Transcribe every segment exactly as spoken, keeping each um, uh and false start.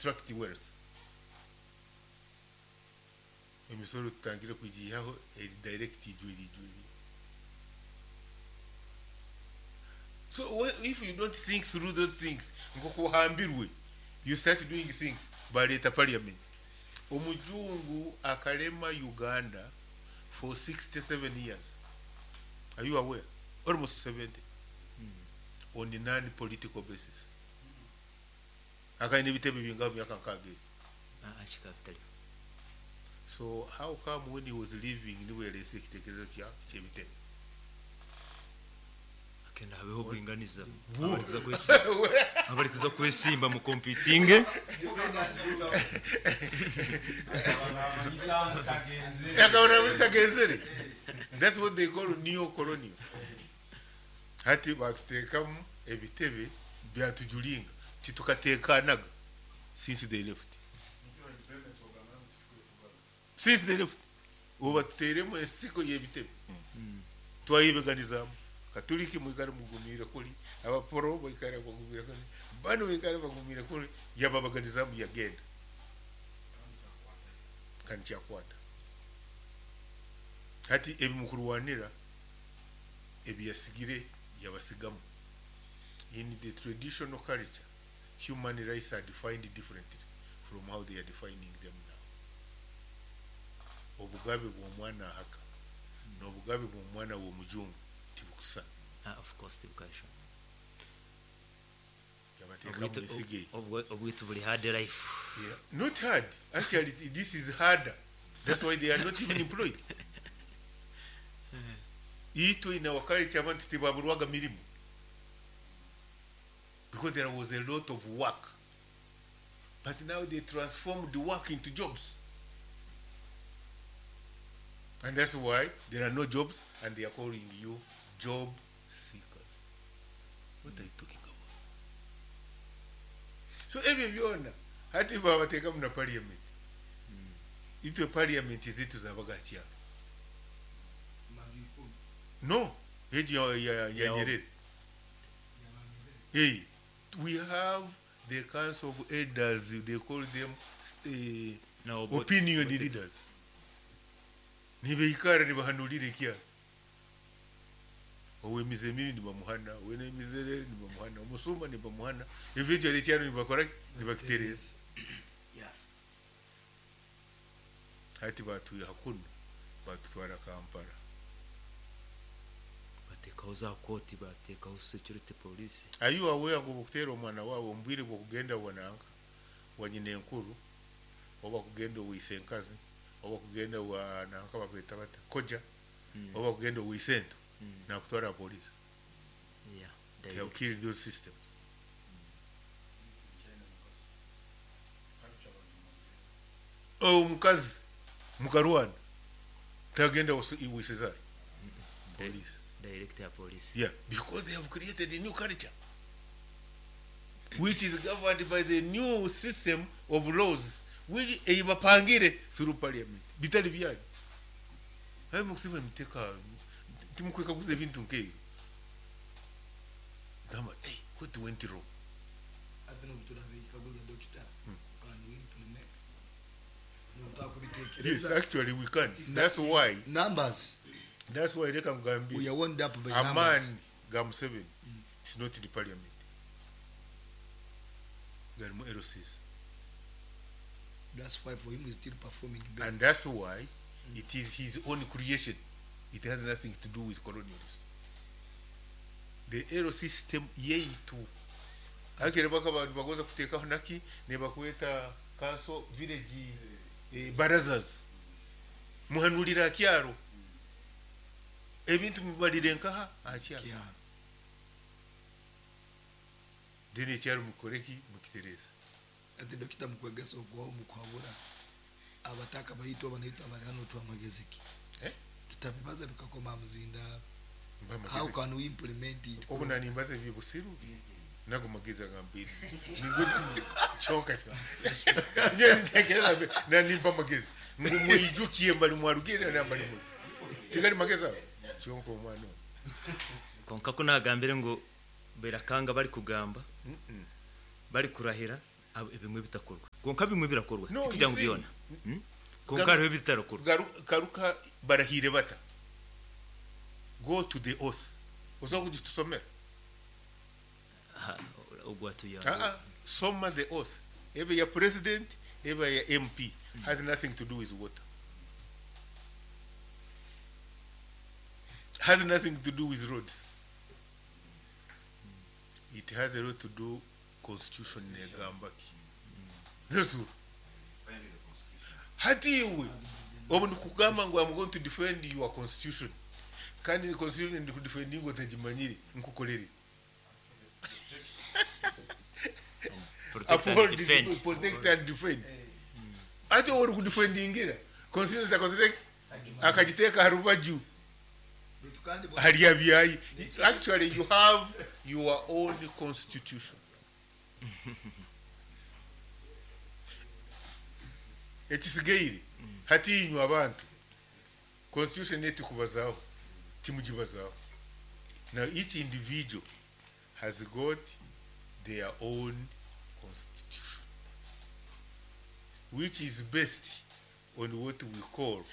extract wealth. Emisoro tutangire kugihaho eri direct ijweri ijweri. So if you don't think through those things, nkokuhambirwe, you start doing things baleeta parliament. Omujungu akalema Uganda for sixty-seven years. Are you aware? Almost seventy. Mm. On a non-political basis. Akaine ebitebe bingaho myaka nkaaga. So how come when he was leaving niwe yalese ekitekerezo kya ky'ebitebe? Akenda habeho bwinganiza. Abari kuza kwesimba mu competing. That's what they call neo-colonial. Hati batuteekamu ebitebe byatujulinga titukateekanaga since they left. Since they left. Ubu batuteeremu ensiko y'ebitebe. Twayibeganizamu. Katoliki mwikare mugumire kuri, abaporo baikare bagumire kuri, bano baikare bagumire kuri, yababaganizamu yagenda. Kandi kyakwata. Hati ebimukurwanira ebiyasigire yabasigamu. In the traditional culture, human rights are defined differently from how they are defining them now. Obugabe bw'omwana ahaka n'obugabe bw'omwana w'omujungu tibukusa. Ah, of course tibukasha. Obwitu buli hard life. Yeah. Not hard. Actually, this is harder. That's why they are not even employed. Itwe in our culture abantu tibaburwaga mirimu. Because there was a lot of work. But now they transformed the work into jobs. And that's why there are no jobs and they are calling you job seekers. What are you talking about? So ebyo byona hati babateekamu na parliament. Itwe parliament zitu zabaga kyalo. No, ya, ya, ya Nyerere. Hey, we have the council of elders, they call them uh, no, but, opinion but leaders. Nibeikara nibahanulire kyalo. Owemize mibi nibamuhana, owenemize nibamuhana, omusumba nibamuhana, ebyo ekyalo nibakora nibakitereza. Yeah. Hati batuye hakuno batutwara Kampala. Batekaho za koti, batekaho security police. Are you aware ngo bukutera omwana wawe ombwire bwokugenda wananga wanyina enkuru oba kugenda owise enkazi oba kugenda wa nanka bakweta bata koja mm. oba kugenda owise ento mm. nakutwara police. Yeah, they have killed those systems. Oh, mukazi mukarwana tagenda wisezara police. Director police. Yeah, because they have created a new culture which is governed by the new system of laws which eyibapangire through parliament. Bitali byanyu. Hayi mukusiba mteka timukweka kuze bintu nkebyo. Gamba, hey, what went wrong? Yes, actually we can. That's why numbers. That's why reka ngambire. We are wound up by a numbers. Man ga Museveni. Mm. It's not in the parliament. Garimu L Cs. That's why for him he's still performing better. And that's why mm. it is his own creation. It has nothing to do with colonialism. The L C system yeitu. Akere baka bantu bagoza kutekaho naki ne bakweta council village eh, barazas. Muhanulira kyaro. Ebintu mubalire nkaha akyaro. Dini ekyaro mukoreki mukitereza. Ati dokita mukwegesa okwaho mukwabura abataka bayitwa abanaitwa abali hano twamagezeki. Eh? Tutabibaza bikakoma muzinda. How can we implement it? Obu nanimbaza ebibusiru nago magezi agambiri. Ningo chonka. Nye nitekereza nanimba magezi. Ngo muijukiye mbali mwarugire na mbali mu. Tigari magezi ago. Chonka omwana. Konka ko nagambire ngo berakanga bari kugamba. Mm -mm. Bari kurahira ebimwe bitakorwa. Konka bimwe birakorwa No, tikugira you ngu see, byona. Mm? Konka Garu- hariho ebitarakorwa. Garu- garuka barahire bata go to the oath osobola kugitusomera. Aha, ogwatuyamba. Ah, ah, soma the oath, ebe ya president, ebe ya M P, has nothing to do with water, has nothing to do with roads. It has a lot to do constitution negamba ki Yesu. Hati iwe obu nikugamba ngu I'm going to defend your constitution, kandi ni constitution ndikudefendinga otagimanyire nkukolere. Protect and Uphold, defend. protect and defend. Ate ori kudefendingira constitution takozire akagiteeka ha rubaju. Baitu kandi bo- Hariya byayi. Actually, you have your own constitution. Ekisigaire hatiinywe abantu constitution etikubazaho timugibazaho. Now each individual has got their own constitution, which is based on what we call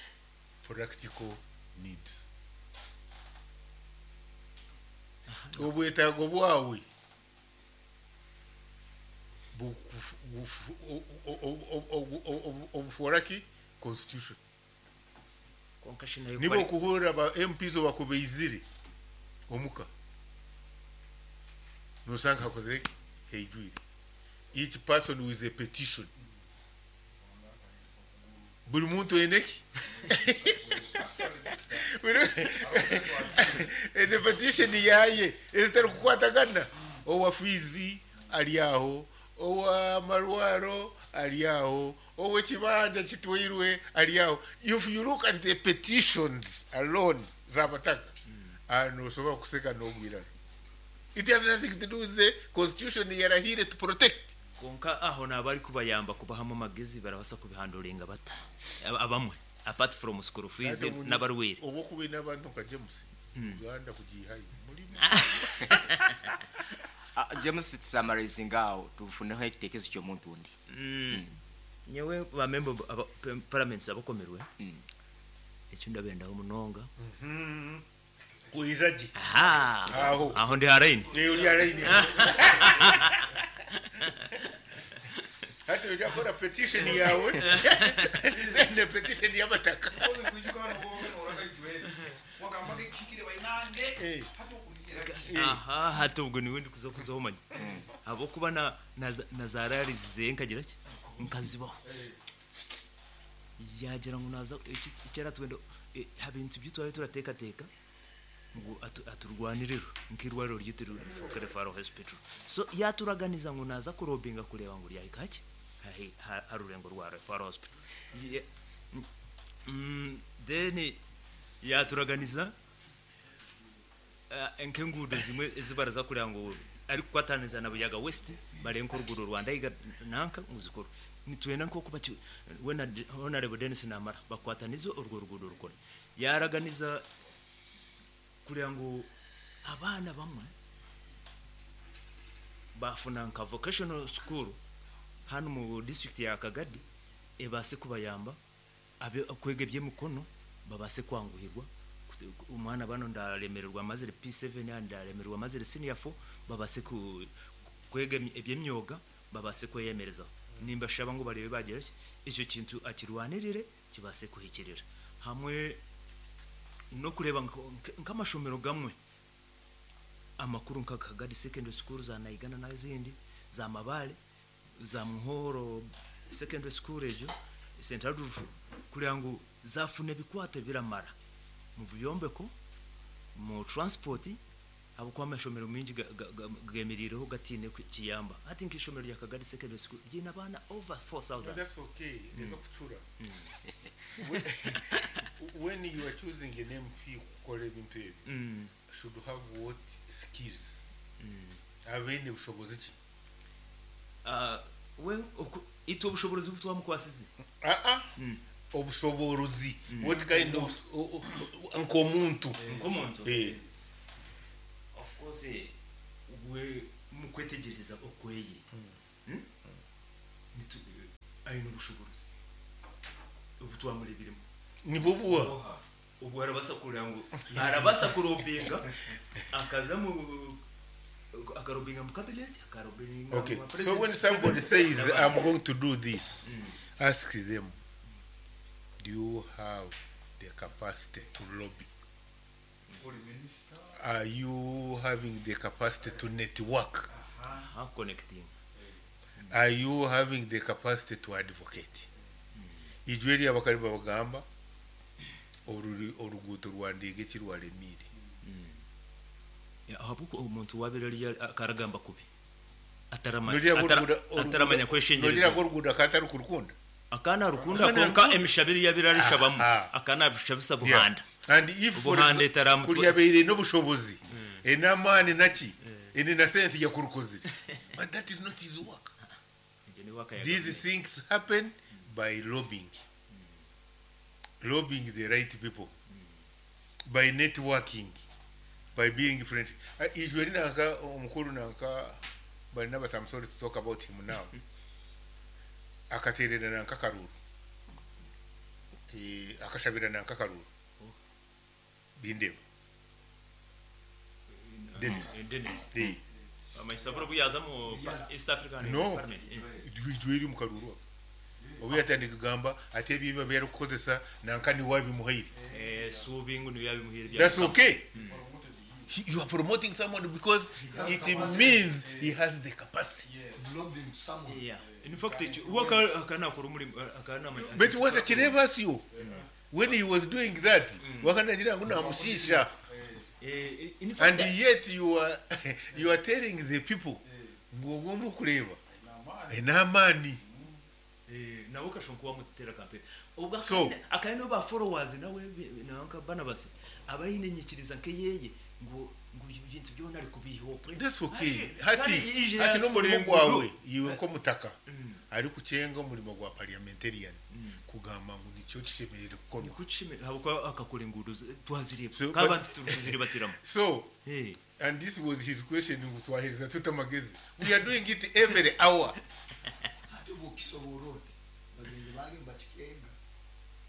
practical needs, obwetaago bwawe bukufu- bufu- o- o- o- o- o- o- obufuora ki constitution. Konka shi nayo Niba kwari- okuhurra ba M Ps obakubeizire omuka nosanga hakozire ki heijwire each person with a petition, buli muntu aineki ene petition yaye ezitari kukwatagana, owa fizi ari aho, owa marwaro ari aho, owekibanja kitwairwe ari aho. If you look at the petitions alone z'abataka ano, osobola kuseka n'ogwirana. It has nothing to do with the constitution yarahire to protect. Konka aho naba ari kubayamba kubahamu amagezi barabasa kubihanduringa bata Aba- abamwe apart from school fees Ate omunye- n'abarwire. Oba okuba n'abantu nka James, Uganda kugihayo mulimu. Ah, James, tusummarizinga awo tufuneho ekitekezo ky'omuntu undi. Mm. Nyewe bamember aba- pe- parliaments abakomerwe Mm. ekyo ndabendaho munonga. Kuizagi. Aha. Aho. Aho ndi haraini. Uli alaini hati ojakora petition yawe ne petition y'abataka. Eh. Eh. Aha, hati ubwo niwe ndi kuza kuzaho manya habwokuba na na- na zararizize nkagira ki nkazibaho yagira ngu naza kera twenda eh, ha bintu byitwaye turatekateka ngu atu- aturwaniriro nk'irwariro ryitu rifoke referral hospital, so yaturaganiza ngu naza kurobinga kureba ngu ryahika ki Hahi- ha- ha rurengo rwa referral hospital. Ye- mm, then yaturaganiza eh, nk'enguudo zimwe ezibaraza kureba ngu ari kukwataniza na Buyaga West barenka oruguudo rwa Ndaiga nanka nguzikoro nitwenda nk'oku baki we na Honorable Dennis Namara bakwatanize urwo ruguudo rukore. Yaraganiza kureba ngu abaana bamwe bafuna nka vocational school hano mu district ya Kagadi ebase kubayamba abe kwega ebyemikono babase kwanguhirwa. Kute- umwana bano ndaremererwa amazire P seven ya ndaremererwa amazire senior four babase ku kwega emy- ebyemyoga babase kweyemerezaho. Nimba shaba ngo barebe bagira ki icyo kintu akirwanirire kibase kuhikirira hamwe no kureba nko- nk- nk'amashomero gamwe amakuru nka Kagadi Secondary School za Naigana n'izindi za Mabale za Muhoro Secondary School ejo Saint Adolf kugira ngo zafune bikwate biramara mu byombeko mu transport abo kwa amashomero mingi ga- ga- ga- gemirireho gatine ku kiyamba ati nk'ishomero rya Kagadi Secondary School ryina abana over four thousand. No, that's okay. Reka kucura. When- when you are choosing an M P kukora ebintu ebyo, mm. should have what skills? Mm. Abeine bushobozi ki? Uh, we oku- itwe obushobozi butwamukwasize. Ah ah. Mm. Obushoborozi. What kind of o- o- nk'omuntu? Nk'omuntu. Eh. Of course, eh, we mukwetegereza okweye. Hmm? Nitu- Aine obushobozi obu twamureebiremu. Nibwo buwa. Obwo arabasa kureba ngu arabasa kurobinga akaza mu akarobinga mu cabinet, akarobinga Okay. mu So when president. Somebody says, "I'm going to do this," ask them, "Do you have the capacity to lobby? Are you having the capacity to network? Aha, connecting. Are you having the capacity to advocate?" Ijwe eri abakali babagamba oruri- oruguuto rwa Ndege kirwaremiire. Ahabw'oku omuntu wabire ari akaragamba kubi ataramanya Nogira ngu atara- oruguudo- oruguudo- ataramanya nogira ngu kweshengyereza. Oruguudo akatari kurukunda. Akana rukunda Akana konka rukunda. emishabiri yabire arishabamu Aha. akana abishabisa buhanda. And if for Obuhanda exa- etaramu- kuryabeire n'obushobozi enamaani naki ene na sente yakurukozire, but that is not his work. Egyo ni waka ya These government. things happen by lobbying, lobbying the right people, by networking, by being friendly. Uh, ijwe nanka omukuru nanka Barnabas, I'm sorry to talk about him now, akaterera nanka karuru. Eh, akashabira nanka karuru bindeba Dennis. Eh, Dennis. Eh, Amaisaburo buyaza mu pa- East African No. Parliament. Eh. Ijwe eri mu karuru ako obu yatandika kugamba ate ebyo byarikukozesa nanka niwe abimuhaire. Eh, subingu niyo yabimuhire bya. That's okay. He, you are promoting someone because it means he has the capacity. Yes. Lobbying to someone. Yeah. In fact, ekyo- uwo aka- akana akora omurimo akana. But watakireba asyo when he was doing that, wakanagira ngu namushisha. Eh, in fact, And yet you are you are telling the people ngu ogwo omukureba n'amaani. Eh, nawe kashobora kuba mutera campaign ubwo. So- akandi- akandi no ba followers nawe bi- nanka Barnabas abayine nyikiriza nkeyeye ngo ngo ibintu byona ari kubiho. That's okay. Kandi- Hati kandi ije hati n'omurimo yatukora gwawe enguru. iwe nk'omutaka Mm. ari kucenga omurimo gwa parliamentarian kugamba ngu nikyo kishemerere kukorwa. Nikuchime habwo akakora engudo z- twazireba So, kabantu turi kuziribatiramo. So Eh, and this was his question ngu twahereza tuta amagezi. We are doing it every hour. Ate bw'okisobola oti bagenzi bange bakikenga.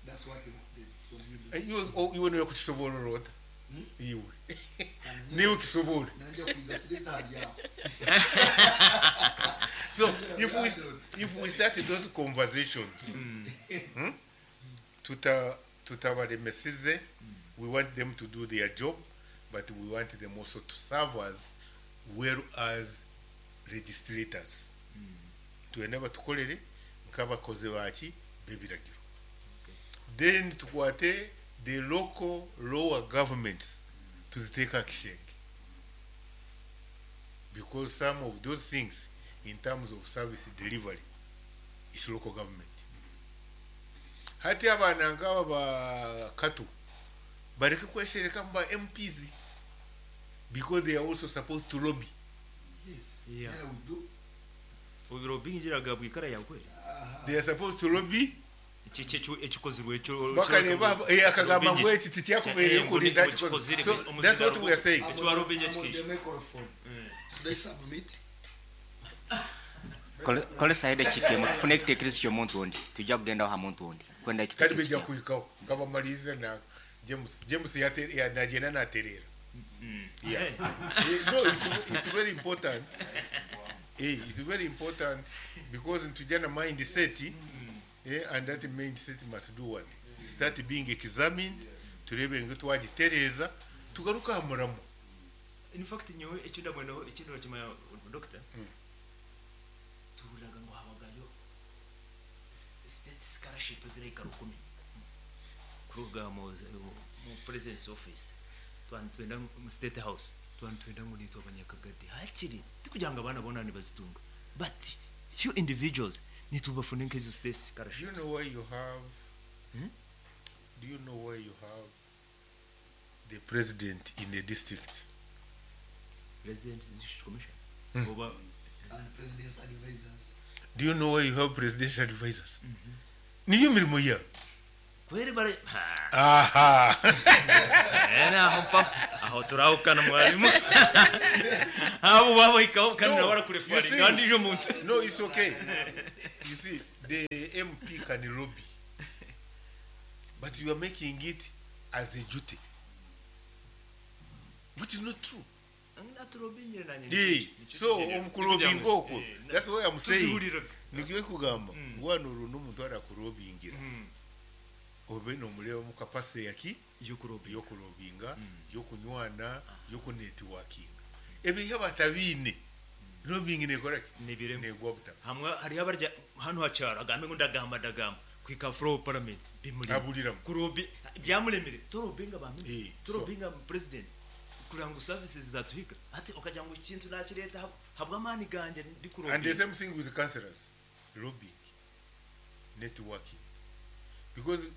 That's what they, they, from you do. Eh, iwe o- iwe niwe kukisoborora ota? Hmm? Iwe niwe kisobora. Nanja kuyiga kugeza hali aho. So if we if we start those conversations, hmm? tuta tutabaremesize. We want them to do their job, but we want them also to serve us well as legislators. Twena batukolere nk'abakozi baki b'ebiragiro. Then tukwate the local lower governments tuziteeka akishenge, because some of those things in terms of service delivery is local government. Hati abaana nk'aba bakatu bareke kweshereka mu ba M Ps because they are also supposed to lobby. Yes. Yeah. Yeah, we do. Obiro bingiraga bwikara yawe kweli. Aha. They are supposed to lobby. Iki iki ekikozirwe ekyo. Bakareba eh, akagamba ngu eki tikyakubeereyo Eh, kurinda ngo kikoze. kikozire, So that's what we are saying. I'm Ekyo on the- warobinye I'm on kikisha. the microphone. Should I submit? Kolesa edakika emu tufune ekiteekerezo ky'omuntu ondi tujja kugendaho ha muntu ondi kwenda Kati ekiteekerezo bijja kyawe. kuhikaho kabamalize na James. James yate- ya- nagenda naterera. Yeah. Eh. Eh, no, it's, it's very important. Eh, it's very important because ntujana mindset, eh, and that mindset must do what? Start being examined, turebe ngu twagitereeza tugaruka aha muramo. In fact, nyowe ekyo ndabwenaho ekintu rakimanya, doctor, tuhuriraga ngu habagayo s- state scholarship zirahika rukumi kuruga mu mu president's office. Twani twenda mu State House, twani twenda ngu nitwe abanyakagadi hakiri tikugira ngo abaana bona nibazitunga, but few individuals nitubafune nk'ezo state Do you scholarships. Know why you have Hmm? Do you know why you have the president in the district? President District Commission Hmm. oba? And president's advisors. Do you know why you have presidential advisors? Niyo mirimo yabo. Kweri bare ha. Aha. Eh, naho mpa aho turahukana mwarimu abo babahikaho kandi No, nawe arakurefari you see- kandi ejo muntu. No, it's okay. You see, The M P can lobby, but you are making it as a duty, which is not true. Eh, so omukulobinga okwo, that's why I'm saying, nikyo kugamba wano olwo n'omuntu arakulobingira obe nomureba mu capacity yaki yokulobinga, yokunywana, yokunetworkinga. Ebyo batabiine, lobbying nekoraki? Nibiremu. Negwa butaka. Hamwe hariho abarya hano hacyaro agambe ngo ndagamba ndagamba kwika floor parliament bimuri Abuliramu. Kurobi byamulemire torobinga ba Eh, torobinga president kugira ngo services zatuhiga ati ukagira ngo ikintu nakireta hab- habwa amani ganje ndi And the kurobinga. same thing with councillors, lobbying, networking, because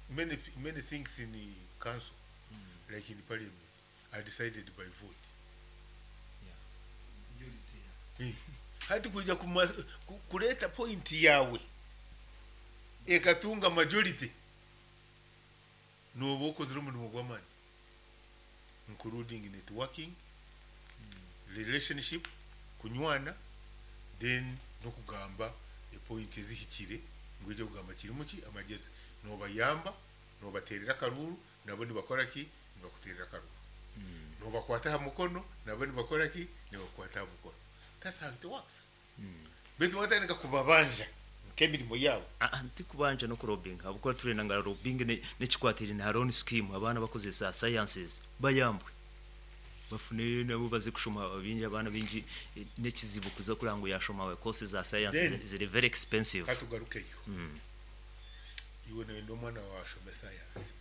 many many things in the council, like in the parliament, are decided by vote. Eh, hati kuja kuma, ku, kuleta point yawe ekatunga majority, noba okozire omurimo gw'amaani, including networking, relationship, kunywana, then nokugamba epoint ezihikire ngu ekyo kugamba kirimu ki amagezi, nobayamba, nobaterera akaruru, nabo nibakora ki? Nibakuterera akaruru. Nobakwata aha mukono, nabo nibakora ki? Nibakukwata aha mukono. That's how it works. Baitu watandika kubabanja nk'emirimo yabo. Ah, nti kubanja no kurobinga habwokuba turenda nga lobbying ne nekikwatire na loan scheme abaana bakozesa sciences bayambwe bafune nabo baze kushoma bingi abaana bingi eh, nekizibu kuza kugira ngo yashoma we courses za science Then- ziri very expensive. Katugarukeyo. Iwe noyenda omwana wawe ashome science.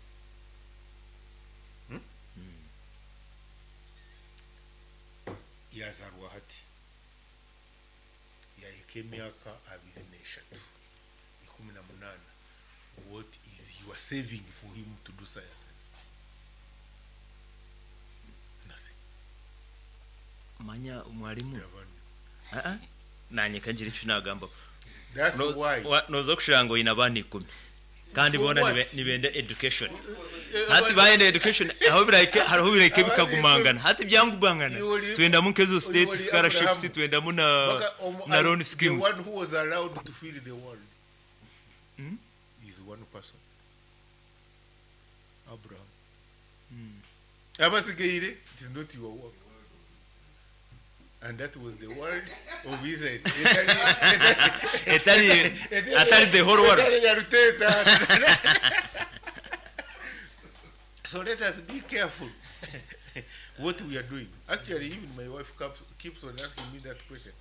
Hmm? Yazarwa hati yahika emyaka abiri n'eshatu, ikumi na munana, what is you are saving for him to do sciences? Nothing. Manya mwalimu. Yabana. Ah, ah. Nanye kangira icyo nagamba. That's No- why wa- noza kushira ngo ina abana ikumi kandi For bona what? nibe- nibenda education. Eh, Hati abana- bayenda education aho bireke hariho bireke Abana bikagumangana hati byangubangana. Iwoli- Twendamu nkezo state Iwoli scholarships, Abraham. twendamu na Baka, omu- na loan the schemes. one who was allowed to fill the world Hmm? is one person, Abraham. Abasigaire, it is not your work. And that was the world of Israel. Etari atari the whole world. Etari ya Ruteta. So let us be careful what we are doing. Actually, even my wife keeps, keeps on asking me that question.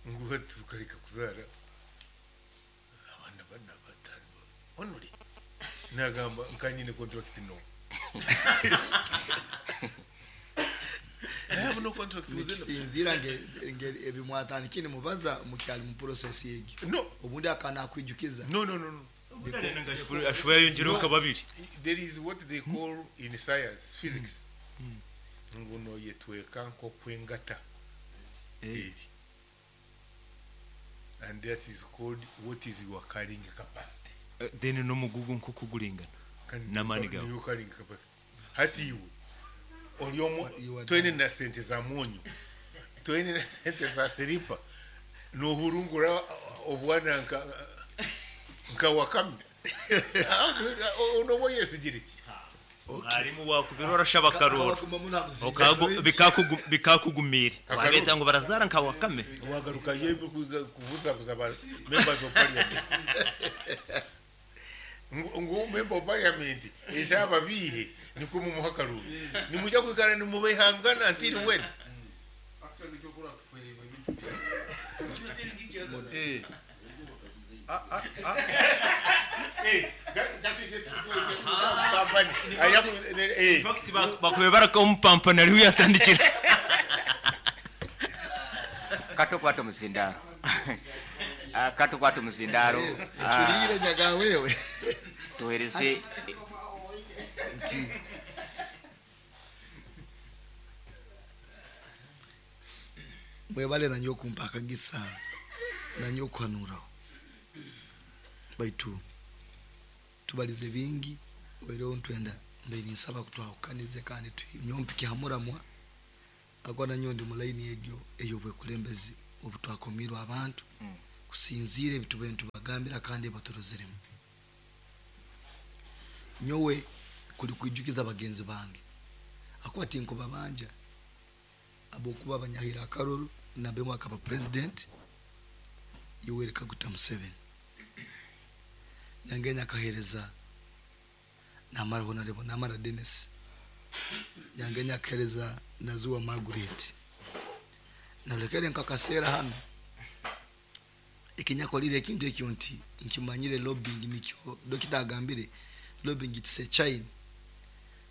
Ngo tukareka kuzara abana bana batanu only. Nagamba nkanyine contract, no. I have no contract with them. Nikisinzira nge nge ebimwatandikire nimubaza mukyali mu process egyo. No, Obundi akana akwijukiza. no, no, no, no. Ashobora yongereho ka babiri. There is what they call in science, physics, nguno yetweka nkokwengata eri, and that is called what is your carrying capacity. Then n'omugugu nko kuguringana Kandi N'amaani gawe. niyo carrying capacity. Hati iwe oli omu You are twene na sente za mwonyo, twene na sente za siripa, nohurungura obwana nka nka wakame, onoba oyesigire ki? Mwarimu wakubira orashaba akaruru. Kabaguma munamuzinga. Okagu- bikakugu- bikakugumira Akaruru. wabeta ngo barazara nka wakame. Wagaruka yembe kuza kubuzabuza ba members of parliament ngo ngo member of parliament eshaba bihe niko mumuha akaruru, nimujya kwikara nimubehangana until when? Actually, kyokora kuferebwa ebintu. Eh. Ah, ah, ah. Eh, that- that is it. Company. Aya- eh. Bakube barakamupampana ariho yatandikira. Katukwata omuzindaaro. Ah, katukwata omuzindaaro. Ah, Ncuriire nyaga wewe. Tuhereze. Nti mwebale nanyo okumpa akagisa nanyo okuhanuraho baitu tubalize bingi wereho ntwenda mbe ninsaba kutwahukanize kandi nyompike hamuramwa akwa nanyo ndi mulaini egyo ey'obwekulembezi obutwakomirwe abantu. Mm. Kusinziira ebitube nitubagambira kandi ebaturozeremu. Nyowe kuli kwijukiza bagenzi bange. Akuba tinkubabanja abokuba abanyahira akaruru nabemwe akaba president Yoweri Kaguta Museveni. Nyangenya akahereza Namara Honorable Namara Dennis. Nyangenya akahereza Nazuwa Margaret. Nalekere nkakaseera hano ekinyakolire ekintu ekyo nti nkimanyire lobbying nikyo dokita agambire lobbying it's a chain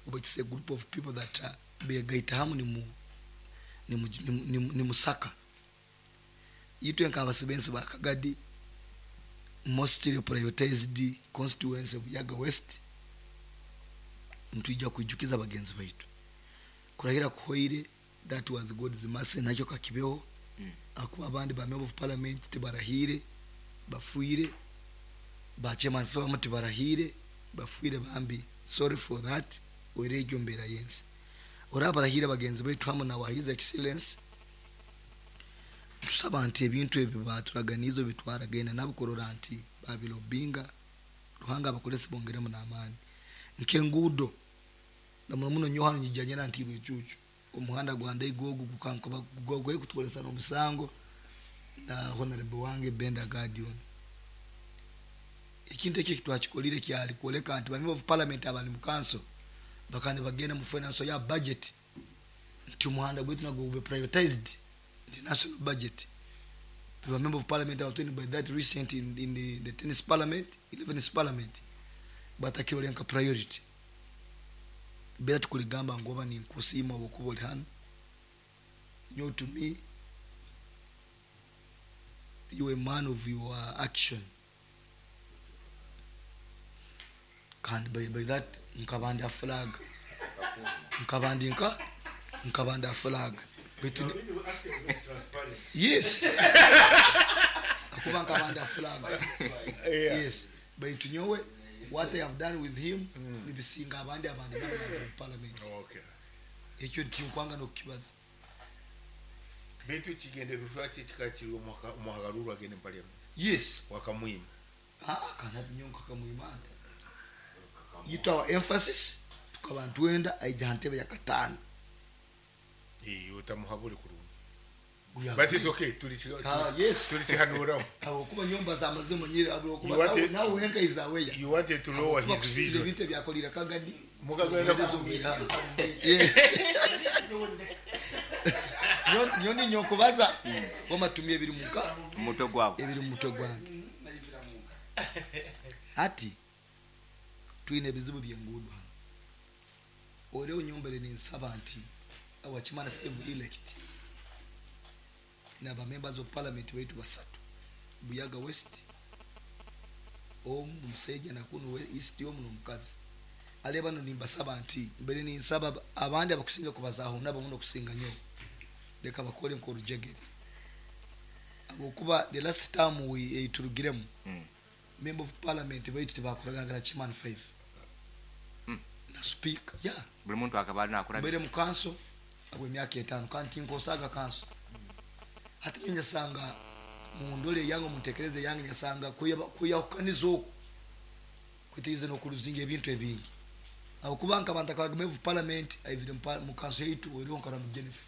oba it's a group of people that uh, begaita hamu ni mu ni mu, ni, mu- ni, mu- ni musaka itwe nk'abasibensi ba Kagadi mostly prioritized constituency Buyaga West ntwijja kwijukiza bagenzi baitu kurahira kuhoire that was God's mercy nakyo kakibeho Mm. akuba abandi ba member of parliament tibarahire bafuire ba chairman famu tibarahire bafuire bambi sorry for that oire mbeera yensi ora barahire bagenzi baitu hamu na wa his excellence tusaba nti ebintu ebyo baturaganizo bitwaragenda nabo kurora nti babilobinga Ruhanga abakolesi bongeremu n'amaani nk'enguudo na muno muno nyo hano nyijanye na ntirwe cucu omuhanda gwa Ndaigogo gukankuba gwe kutukolesa n'omusango na honorable wange Benda Guardian ekintu ekyo kitwakikolire kyali kwoleka nti ba member of parliament abali mu council bakandi bagenda mu finance ya budget nti omuhanda gwaitu nagwo gube prioritized the national budget the member of parliament abatweni by that recent in, in the, the tenth parliament eleventh parliament batakirolenka priority bera tukuligamba ngu oba ninkusiima obukuba oli hano nyo to me you a man of your action kandi by, by that nkabandi flag nkabandi nka nkabandi flag Baitu ni- yes akuba nkabandi flag yes baitu nyowe what I have done with him mm. nibisinga abandi abandi nabo nabo mu parliament Okay. ekyo tinkwanga nokukibaza Baitu kigendererwa ki ekikakiri omuhagaruru agende mu parliament yes wakamwima ah kana nyonka kamwimanda yitu our emphasis tukaba ntwenda aija ntebe ya katano Eh, otamuhabure kurungi We are but it's okay tuli Ah, yes. tuli kihanuraho awokuba nyumba za mazimu nyire awokuba You want it- nawe wenka izaweya you wanted to lower his kusinda vision ebintu ebyakolera Kagadi mukagenda nyoni nyokubaza wamatumia ebiri muka omutwe gwabo ebiri mu mutwe gwange ati twine ebizibu byenguudo hano oriho nyombere ninsaba nti our chairman five elect naba members of parliament baitu basatu Buyaga West omu omusajja nakuno East omu n'omukazi ale bano nimbasaba nti mbere ninsaba abandi abakusinga kubazaho nabo muno kusinga nyo leka bakole nk'orujegere abokuba the last time we eiturugiremu Mm. member of parliament baitu tebakoragagara chairman five Mm. na speaker yeah buli muntu akaba nakura mbere mu kanso abo emyaka etaano kandi tinkosaga kanso hati nyo nyasanga mundole yange muntekereze yange nyasanga kuyahukaniza oku kwitegereza n'okuluzinga ebintu ebingi abo kubanga abantu akabagamba member of parliament aivire mu kanso yaitu oriho nkara mu Jennifer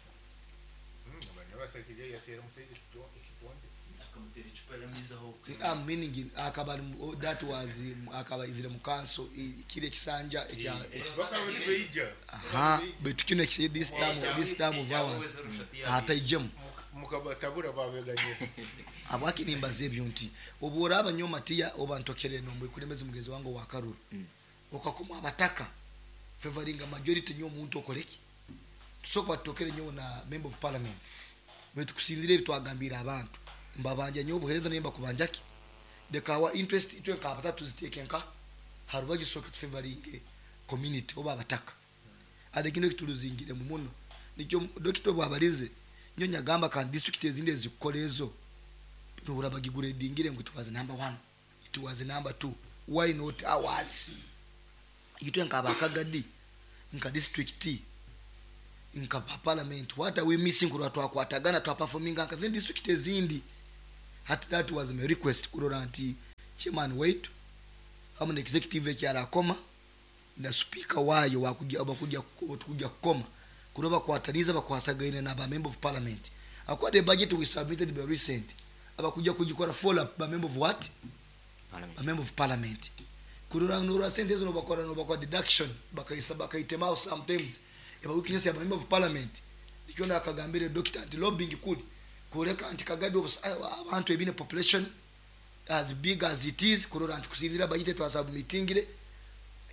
nabasakije yatera omusajja ekito- ekikonde akamutera icupa yamizaho I'm meaning akaba ari mu- oh, that was um, akaba izire mu kanso i- kile ekisanja ekya ekya- bakaba nibeija aha baitu kino ekisanja this time this time of ours hataijemu mukabatabura babeganye abwaki nimbaza ebyo nti obu oraba nyo matiya oba ntokere nomwe kulembezi mugenzi wange wa karuru Mm. okakoma abataka favoring a majority nyo omuntu okoleki tusoka batokere nyo na member of parliament baitu kusinzira ebi twagambira abantu mbabanja nyo obuhereza naye mbakubanjaki leka our interest itwe nka abatatu ziteeke nka harubagi soka tufavoring community oba abataka ate kino kituluzingire mu muno nikyo dokita bwabalize nyo nyagamba kandi district ezindi ezikukola ezo nobura bagiguredingire ngo it was number one it was number two why not ours itwe nka abakagadi nka district nka pa parliament what are we missing kurwa twakwatagana twaperforminga nka zindi district ezindi Hati that was my request kurora nti chairman waitu hamu na executive ekyarakoma na speaker wayo wakujja bakujja tukujja kukoma kuroba kwataniza bakwasagaine na ba member of parliament. Akwa the budget we submitted by recent abakujja kugikora follow up ba member of what? Parliament. Ba member of parliament kurora nura sente zo bakora no bakora deduction bakaisa bakaitemao sometimes eba weakness ya ba member of parliament. Nikyo nakagambire doctor anti lobbying kuli kureka anti Kagadi abantu ebine population as big as it is kurora anti kusinzira budget twasubmittingire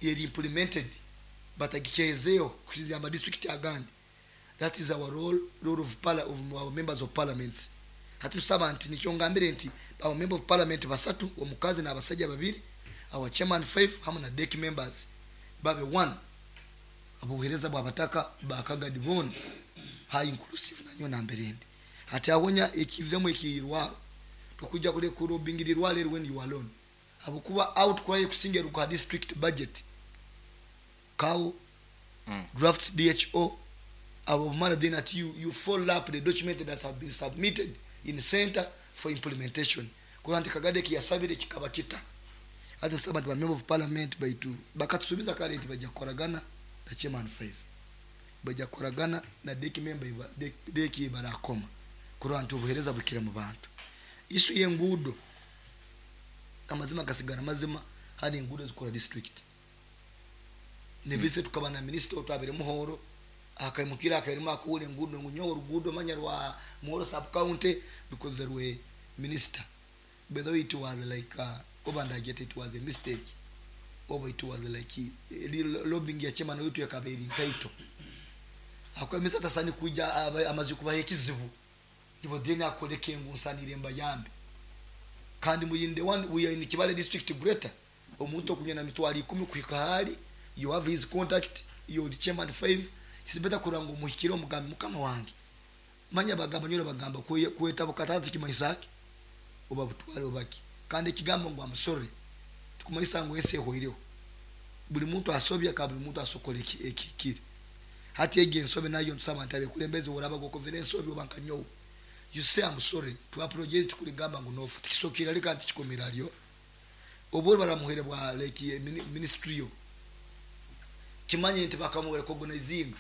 yeri implemented batagikezeyo kusinzira ama district agandi. That is our role, role of parla, of our members of parliament. Hatusaba nti nikyo ngambire nti our member of parliament basatu omukazi n'abasajja babiri, our chairman five hamwe na deck members babe one abuhereza bwabataka bakagadi bona high inclusive nanyo namberende. Hati awonya ekiviremu ekirwaro tukujja kule kurobingirirwa lero when you are alone abukuba out kwa kusinga ruka district budget kawo Mm. drafts D H O abo mara then at you, you follow up the document that have been submitted in center for implementation. Kwa nti Kagadi kiyasabire kikaba kita ate saba ba member of parliament baitu bakatusubiza kale nti bajja kukoragana na chairman five bajja kukoragana na deck member iba deck ibarakoma kurwa nti obuhereza bukira mu bantu. Isu yengudo amazima gasigara mazima hari engudo zikora district nebise tukaba na minister otwabire muhoro akaimukira akairima akule engudo ngunyo orugudo manya rwa Muhoro sub county because there were minister by the way it was like uh, oba get it was a mistake oba it was like uh, lobbying ya chairman wetu yakaberi title akwemeza tasani kuja amazi kubaha ekizibu nibo deni akoleke ngunsanire mbayambe kandi muyinde one we are in Kibale district greater omuntu okunya na mitwali ikumi kuhika hali you have his contact you the chairman five sibeta kuranga omuhikiro omugambi mukama wange manya bagamba nyoro bagamba kweta bukatatu kimaisaki oba butwale obaki kandi ekigambo ngo amusore tukumaisa ngo ese hoireho buli muntu asobya ka buli muntu asokole ekikire hati ege ensobe nayo nsaba ntabe kulembeze oraba gokozere ensobe oba nkanyo you say I'm sorry to apologize tukuligamba ngo nofu tikisokira lika ntikikomera lyo obwo baramuhere bwa like ministry yo kimanye nti bakamuwe recognizing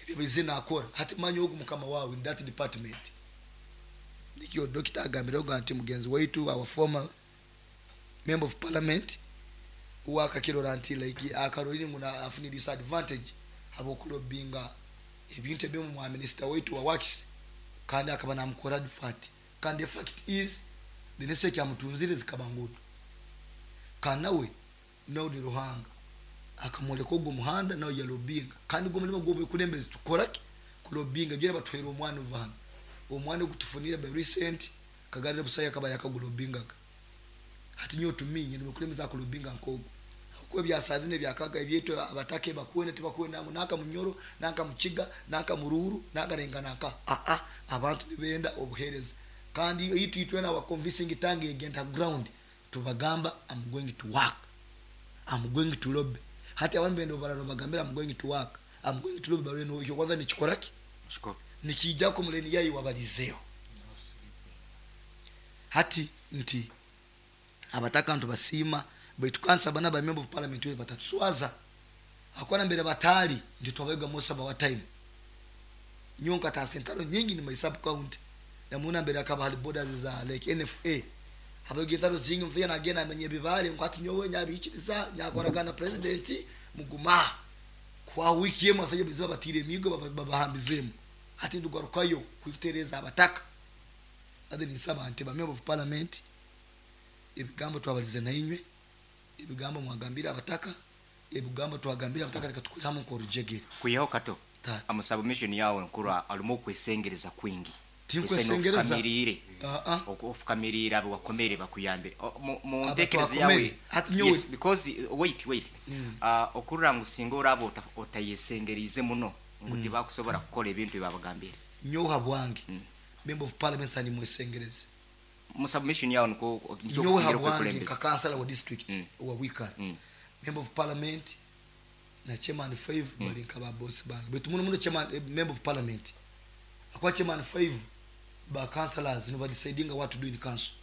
ebyo bizina akora hati manyi ogu mukama wawe in that department. Nikyo doctor agambira nti mugenzi waitu our former member of parliament wakakirora nti like akarolini nguna afuni disadvantage abokulobinga ebintu ebimu mu minister waitu wa works kandi akaba namukora advert kandi the fact is the nese kya mutunzire zikabangudu kanawe no ni Ruhanga akamoleka ogwo muhanda nawe yalobinga kandi gwo mulimo gwo kulembeza tukoraki kulobinga byera batwera omwana uvana omwana gutufunira by recent kagarira busaya kabaya kagulobingaga hati nyo tuminye nimukulembeza kulobinga nkogo kuko byasazine byakaga ebyeto abatake bakuwene tibakuwena naka munyoro naka mukiga naka mururu naka renga naka a a abantu nibenda obuhereza kandi yitu itwena wa convincing tangi against ground tubagamba I'm going to work, I'm going to lobby hati abantu bendo barano bagambira I'm going to work, I'm going to lobby bareno ekyo kwanza nikikoraki nikijja ko muleni yayi wabalizeo hati nti abataka ntu basima baitu kansa bana ba member of parliament we batatuswaza akwana mbere batali ndi twabega Musa ba time nyonka ta sentaro nyingi ni my sub county na muna mbere akaba hali borders za like N F A abagenda zingi mfya na gena amenye bibale ngwati nyowe nyabikiriza nyakoragana president muguma kwa wiki yemo afaje biziba batire migo babahambizemo hati ndugarukayo kwitereza abataka ade nisaba nti ba member of parliament ebigambo twabalize na inywe ebigambo mwagambira abataka ebigambo twagambira abataka reka tukuri hamwe ko rujegere kuyeho kato amusaba mission yawe nkuru alumo kwesengereza kwingi tinkwesengereza ah ah okukamirira abo bakomere bakuyambe mu ntekerezo yawe yes because wait wait ah okurura ngusinga orabo otayesengerize muno ngo tibakusobora kukola ebintu byabagambira nyoha bwange member of parliament ani mwesengereze mu submission yawe nko nyoha bwange ka councilor wa district wa Wikara member of parliament na chairman five balinka ba boss bange betu muno muno chairman member of parliament akwa chairman five Ba councillors no deciding what to do in council.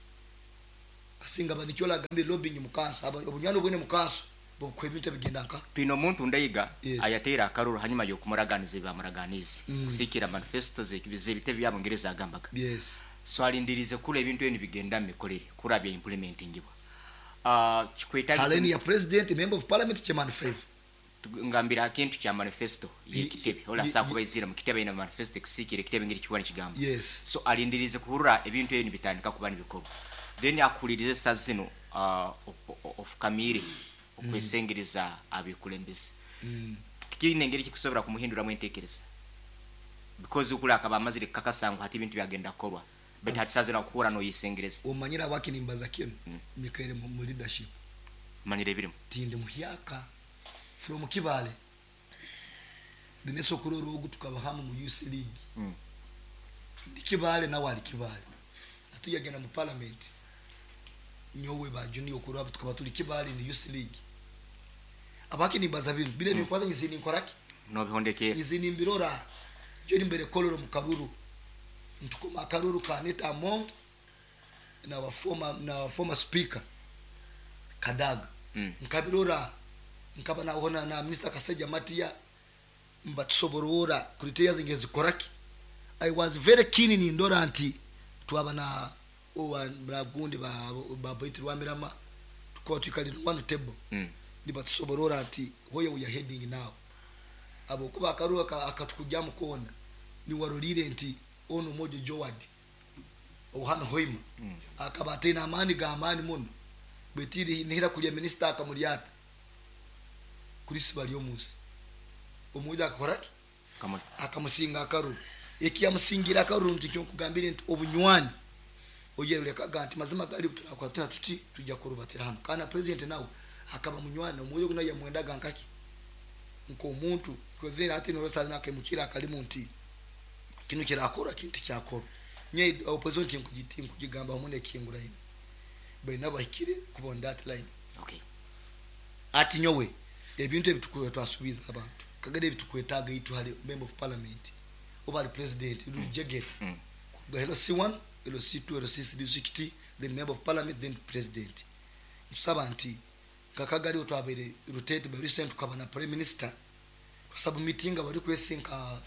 Kasinga banikyola gambe lobbying mu council, aba obunywani obwene mu council bukwe ebintu ebigenda nka. Twine omuntu Ndaiga Yes. ayateera akaruru hanyuma y'okumuraganiza ebamuraganize Mm. kusiikira manifesto z'ebitebe bya Bungereza agambaga. Yes. So alindirize kula ebintu ebyo nibigenda mu mikolere kura bya implementingibwa. Uh, kikwetagisa Haleni ya president, member of parliament, chairman five. Ngambira akintu kya manifesto y'ekitebe ola Ye- saa kuba izira mu kitebe ina manifesto ekusiikira ekitebe ngeri kiwa nikigamba. Yes. So alindirize kuhurura ebintu ebyo nibitandika kuba nibikorwa, then akulirize saa zino uh, ofukamire okwesengereza abekulembeze. Mm. Tikirina engeri kikusobola kumuhinduramu enteekereza because ukula akaba amazire kukakasa ngu hati ebintu byagenda kukorwa, but hati saa zino akuhura noyisengereza. Omanyira abakinimbaza kinu Mm. nyikaire mu mu leadership. Manyire ebirimu. Tindi muhyaka from Kibale dineso kuroro ogu tukaba hamu mu Youth League. Mm. Ndi Kibale nawe ali Kibale, atuyagenda mu parliament nyowe ba junior kuraba tukaba tuli Kibale ni Youth League. Abakinimbaza binu bile mm. Binkwata nyizini nkoraki nobihondekera nyizini mbirora yo nimbere koloro mu karuru ntukoma akaruru ka Anita Among na wa former na wa former speaker Kadaga. Mm. Nkabirora nkaba nahona na Mister Kaseja Matia mbatusoborora criteria zinge zikoraki. I was very keen in ndora nti twaba na owa bragundi ba ba Baitu Rwamirama tukaba tukali one table. Mm. Nibatusoborora nti where we are heading now. Abo kuba akaruwa ka- akatukujja mu kona ni warulire nti ono mojo Joward ohano hoima. Mm. Akaba atena amani ga amani muno betiri nihira kulya minister akamulyata Chris Baryomunsi omuja akakoraki Kamuli. akamusinga akaru ekiyamusingira akaru nti kyo kugambire nti obunywani oyerulekaga nti mazima gali turakwatira tuti tujja kurubatira hano kana president nawe akaba munywani omujo guna yamwendaga nkaki nko omuntu kozera ati norosali nakemukira akalimu nti kino kirakora kinti kyakora nye opposition nti nkugiti nkugigamba hamwe nekingura ino bayina bahikire kuba on that line. Okay. Ati nyowe ebintu ebitukuwe twasubiza abantu kagade ebitukwetaaga itu hali member of parliament oba ali president mm. Rujegere Mm. kuruga L C one, L C two, L C three district, then member of parliament, then president. Nsaba nti kakagari otwabere rotate by recent tukaba na prime minister twasubmittinga bari kwesinka,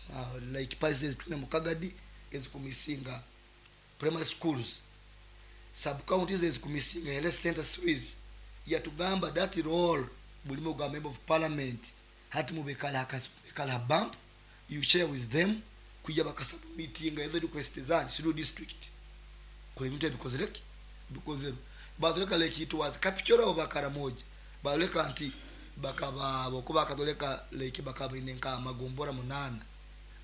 uh, like policies tune mukagadi ezikumisinga primary schools sub counties ezikumisinga health center series yatugamba that role bulimo gwa member of parliament hati mubekala akala bump you share with them kuja bakasubmittinga ezo request zanyu siru district kule bintu ebikozereki bikozero batuleka like it was capture oba Karamoja baleka nti bakaba bokuba katoleka like bakaba inenka magombora munana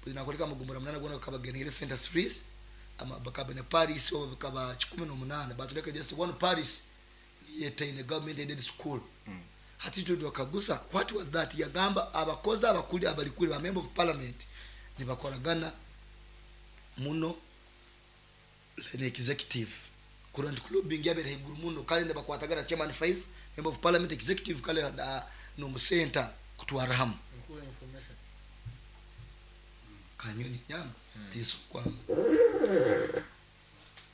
binakoleka magombora munana gona bakaba genere center series ama bakaba ne Paris oba bakaba kikumi n'omunana batuleka just one Paris yeta in a government aided school. Mm. Hati tudo kagusa what was that yagamba abakoza abakuli abalikuli ba member of parliament nibakoragana muno ne executive kurandi lobbying yabere higuru muno kale ndabakwatagana chairman five member of parliament executive kale na no center kutwara hamu Nkuwa information. kanyoni nyanga tiso kwa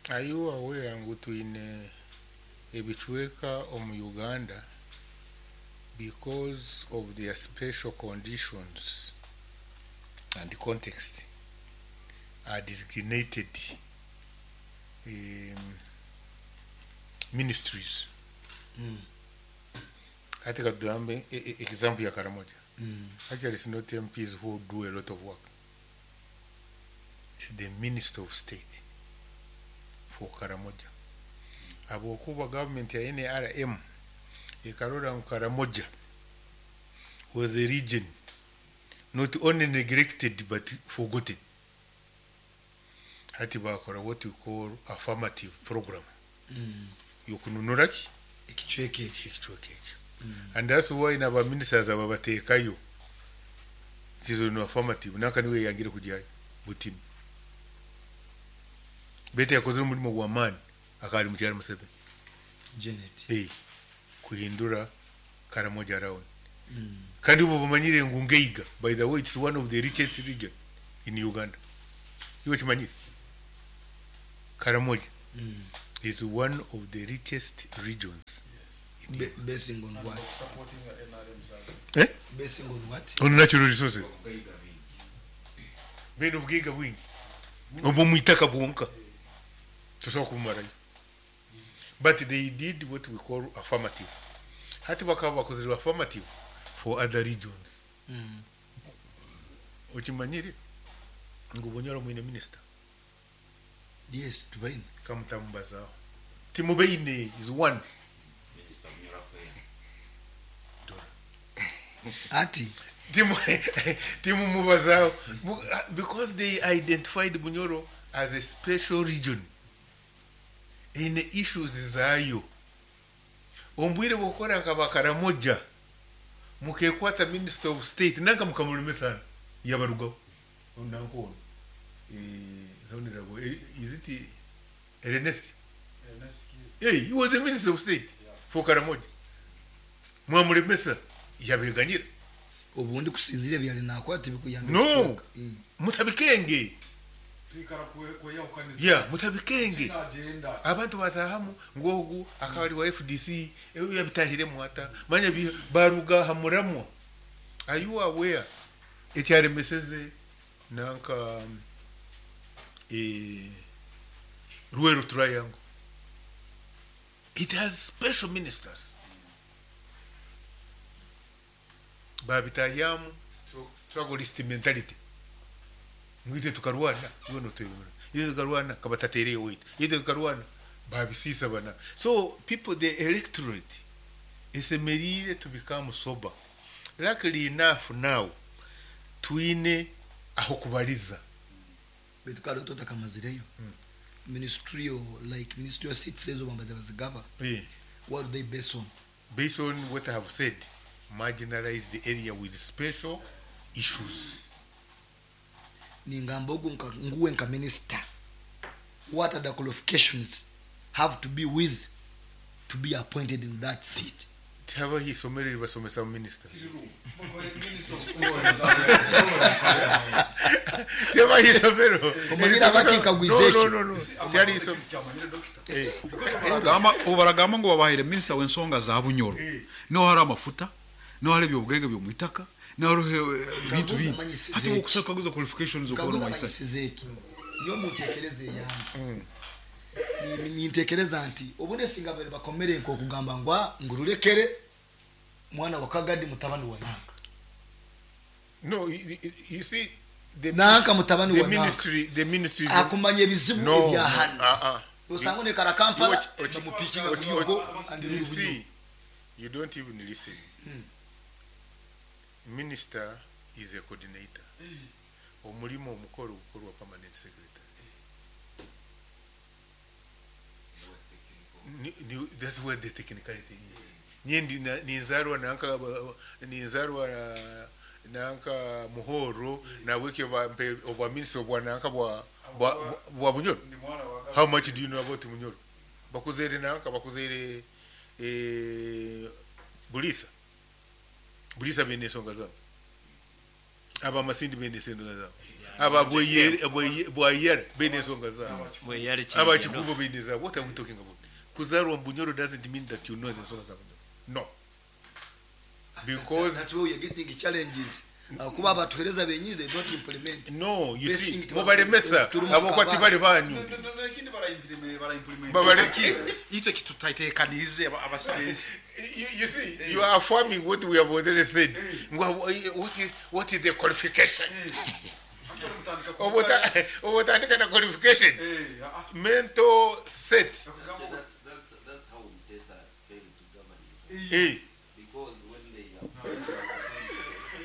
Are you aware ngu twine ebicweka omu Uganda because of their special conditions and context are designated, um, ministries? Mm. Hati katugambe e, e, example ya Karamoja. Mm. Actually, it's not M Ps who do a lot of work. It's the Minister of State for Karamoja. Abokuba government ya N R M ekarora ngu Karamoja was a region not only neglected but forgotten. Hati bakora what we call affirmative program. Mm. Yokununura ki? Ekichweke ekyo. Ekichweke ekyo. Mm. And that's why na ba ministers ababateekayo. It is no affirmative. Naka niwe yangire kujyayo butini. Bete yakoze umurimo gwa man akari mu cyaro Museveni. Janet. Eh. Kuhindura Karamoja round. Mm. Kandi ubu bamanyire ngu Ngeiga, by the way, it's one of the richest region in Uganda. Iwe kimanyire. Karamoja is one of the richest regions. In Be- Uganda. basing on what? Supporting the N R M Eh? Basing on what? On natural resources. Bene obwiga bwingi. Obwo mwitaka bwonka. Tusobola kumarayo. But they did what we call affirmative. Hati bakaba bakozere affirmative for other regions. Mm. Okimanyire ngu Bunyoro mwine minister. Yes, tubaine. Kamutamubazaho. Timubeine is one. Ati Timu timumubazaho because they identified Bunyoro as a special region. In issues zaayo. Ombwire bwokora nka Bakaramoja mukekwata minister of state nanka mukamuremesa yabarugaho nanko ono eh honorable eh, is it Ernest? Hey, he was the minister of state for Karamoja. Mwamuremesa yabeganyira. Obundi kusinzira byali nakwata tibikuyamba. No. Mm. Mutabikenge. Twikara kweyahukaniza. Yeah, mutabikenge. Agenda. Abantu batahamu ngogu akabari wa F D C ebyo yabitahiremu ata manya baruga hamuramwa. Are you aware ekyaremeseze nanka eh Luweero Triangle? It has special ministers. Babitayamu strugglist mentality. Mwite tukarwana, iwe no tuyibona. Iwe tukarwana kabatatereye wait. Iwe tukarwana babisisa bana. So people, the electorate is emerire to become sober. Luckily enough now twine aho kubaliza. Betukalo tota kamazireyo. Mm. Ministerial, like ministerial seats ezo bamba bazigaba. Yeah. What do they base on? Based on what I have said, marginalize the area with special issues. Ningamba ogu nka nguwe nka minister. What are the qualifications have to be with to be appointed in that seat? Tihaba hisomero ribasomesa ministers. Tihaba hisomero. Omanyira bakikagwiza No, no, no, no. Tihari hisomero. Eh. Baragamba, baragamba ngo babahire minister w'ensonga za Bunyoro. No hari amafuta, no hari ebyobugenge byo mwitaka, no hari ebintu bingi. Hati okusaka kaguza qualifications okubona Kaguza maisa. manyisizeki. Niyo muntekereze yange. Ni nintekereza nti obune singa bari bakomere nko kugamba ngwa ngururekere mwana wa Kagadi mutabani wa Nanka. No, you, you see the Nanka mutabani the wa Nanka. ministry, the ministry is Akumanye ebizibu no, ebya hano. uh uh. Osanga ne kara Kampala bamupikinga Ochi- kunyugo ochi- and you see, you don't even listen. Minister is a coordinator. Omulimo omukolo gukorwa permanent secretary. Ni, ni, that's where the technicality is. Nyendi ninzarwa nanka ninzarwa nanka Muhoro na weke ba mpe obwa minister obwa nanka bwa bwa bwa Bunyoro. How much do you know about Bunyoro? Bakuzere nanka bakuzere eh Bulisa. Bulisa bene ensonga zabo. Aba Masindi bene ensonga zabo. Aba Bweyere Bweyere bene ensonga zabo. Aba Kikubo bene zabo. What are we talking about? Kuzarwa Bunyoro doesn't mean that you know the ensonga za Bunyoro. No. Because that's where you're getting challenges. Kuba abatuhereza benyi they don't implement. No, you see, mubaremesa abo kwati bari banyu. Lakini bara implement bara implement. Babareki. Icyo kitutaitekanirize abasigaye. You, you see, you are affirming what we have already said. What is, what is the qualification? Obotandika na qualification. Mental set. That's, that's, that's how Mutesa failed to govern. Hey. Because when they appointed,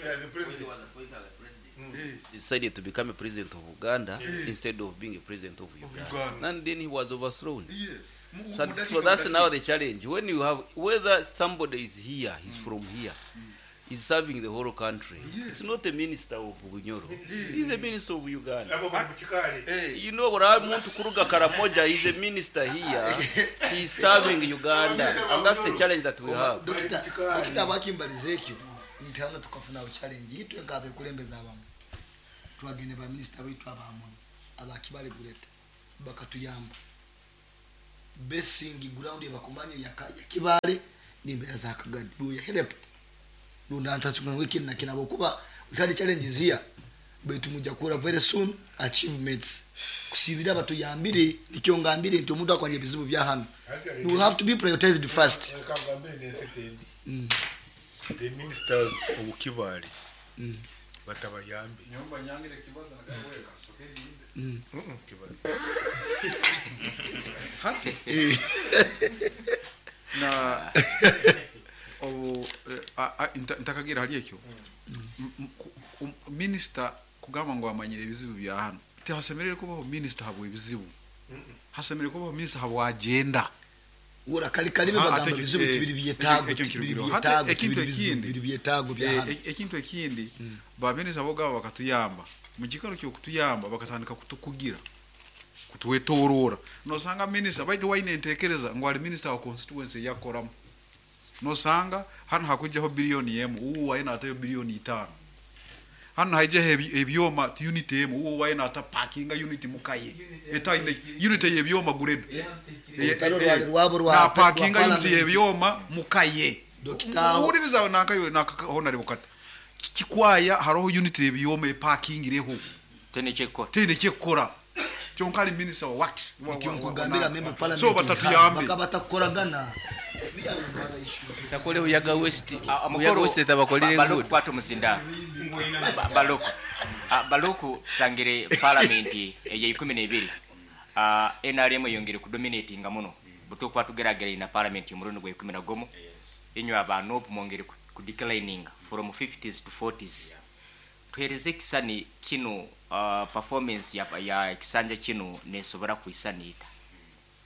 Yeah, the when he president. was appointed as a president, mm. decided to become a president of Uganda mm. instead of being a president of Uganda. Uganda. And then he was overthrown. Yes. So, so that's now the challenge. When you have, whether somebody is here, he's mm. from here, mm. he's serving the whole country. Yes. It's not a minister of Bunyoro. Yes. He's a minister of Uganda. Abo bari mu kikari. You know, muntu kuruga Karamoja, he's a minister here. He's serving Uganda. And that's the challenge that we have. Dokita, dokita bakimbaliza ekyo nti hano tukafuna challenge yitwe nkabe kulembeza abamu twagende ba minister baitu abamu abakibale gureta bakatuyamba Basing ground bakumanye ya ya Kibale n'imbera za Kagadi. We helped. Lundantatungana wiki na kinabo kuba we had challenges here. Baitu mujja kura very soon achievements. Kusibira batuyambire nikyo ngambire nti omuntu akwanje bizibu bya hano. You have to be prioritized first. Kangambire n'ensetendi. The ministers of Kibale Mm. batabayambe. Nyomba nyangire kibazo nagawe kasoke ninde. Mm. Mm, Kibazo. Hati na obu eh, a- a- nta- ntakagira hali ekyo M- m- ku- um- minisita kugamba ngu amanyire ebizibu bya hano tihasemerere kubaho minisita habwa ebizibu, hasemerere kubaho minisita habwa agenda. Ura kali kalime Ah, bagamba ate- bizibu eh, tibiri byetaago ekyo tibiri nkirugiro. byetaago Ate ekintu tibiri bizibu ekindi. biri byetaago bya Eh, hano. e- ekintu ekindi, baminisita bogaba bakatuyamba mu kikaro kyokutuyamba bakatandika kutukugira kutwetorora. Nosanga minisita baitu waine entekereza ngu ali minisita wa constituency eyakoramu, nosanga hano hakujjaho biliyoni emu, uwo waine atayo biliyoni itaano, hano haijaho ebi- ebyoma unit emu, uwo waine ata parkinga unit mukaye etaine unit yebyoma guredo Olutalo rwali rwabo rwa- na parkinga rwa unit parliament. yebyoma mukaye. Dokita- Uhuririza nankayo nakahonare bukata kikwaya hariho unit yebyoma eparkingireho Tene kyekukora. teine kyekukora kyonka ali minisita wa works wa- wa- Nikyo wa- nkugambira wa- member parliament so batatuyambe bakaba batakukoragana. We are on other issues. Takole Buyaga West. Ah, Buyaga mukuru, West tabakolere ba- Baluku good. kwata omuzinda. Ba- Baluku. Ah, Baluku tusangire parliament ey'eikumi n'ebiri. Ah, N R M eyongere kudominatinga muno. Butukuba tugerageraine na parliament omurundi gwa ikumi na gumu. Inywe aba N U P mwongere ku- ku declining from fifties to forties. Tuhereze ekisani kino, uh, performance ya, ya ekisanja kino nesobora kwisaniita.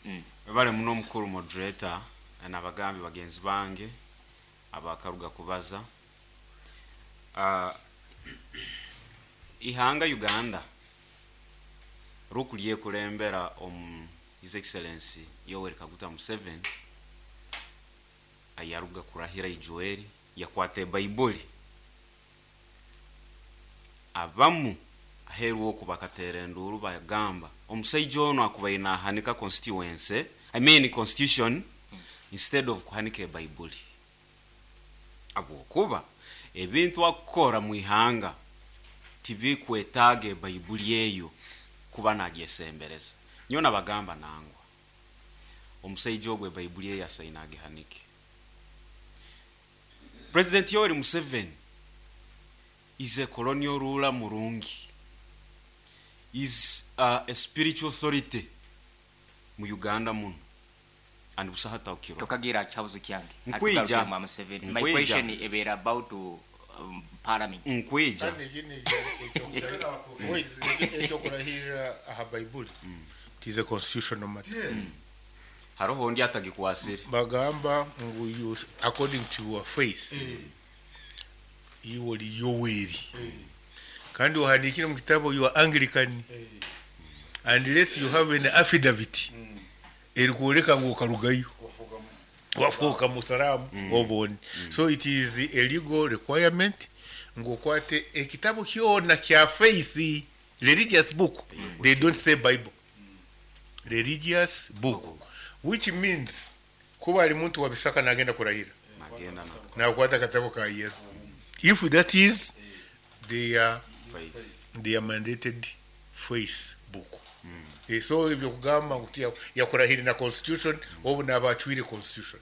Mm. Bale muno mukuru moderator n'abagambi bagenzi bange abakaruga kubaza. uh, ihanga Uganda rukulye kulembera omu His Excellency Yoweri Kaguta Museveni ayaruga kurahira ijueri yakwata Baibuli abamu aheru oku bakatera enduru bagamba omusaija ono akubaire nahanika constituency, I mean constitution, instead of kuhanika ebaibuli, abwokuba ebintu akukora mu ihanga tibikwetaaga ebaibuli eyo kuba nagyesembereza. Nyo nabagamba nangwa omusaija ogwo ebaibuli eyo asaine agihanike. President Yoweri Museveni is a colonial ruler murungi, is uh, a spiritual authority mu Uganda muno and busaha taukiro. Tokagira kyabuzo kyange. Nkwija. Atugaruke mu Museveni. My Nkwija. question ebera about um, parliament. Nkwija. Kandi ekindi ekyo- wait, ekyokurahirira aha Baibuli, it is a constitutional matter. Haroho ndi atagikwasire. Bagamba ngu you, according to your faith, iwe oli Yoweri kandi ohandikire mu kitabo you are Anglican, unless you have an affidavit erikwoleka ngu okarugayo wafuuka musalamu obone. So it is a legal requirement ngu okwate ekitabo kyona kya faith, religious book. They don't say Bible, religious book, which means kuba ali muntu wa Bisaka nagenda kurahira nagenda na nakwata akatabo ka Yesu, if that is their faith. Their mandated faith book. Eh, so ebyo kugamba ngu tiya- yakurahira na constitution, obu nabacwire constitution.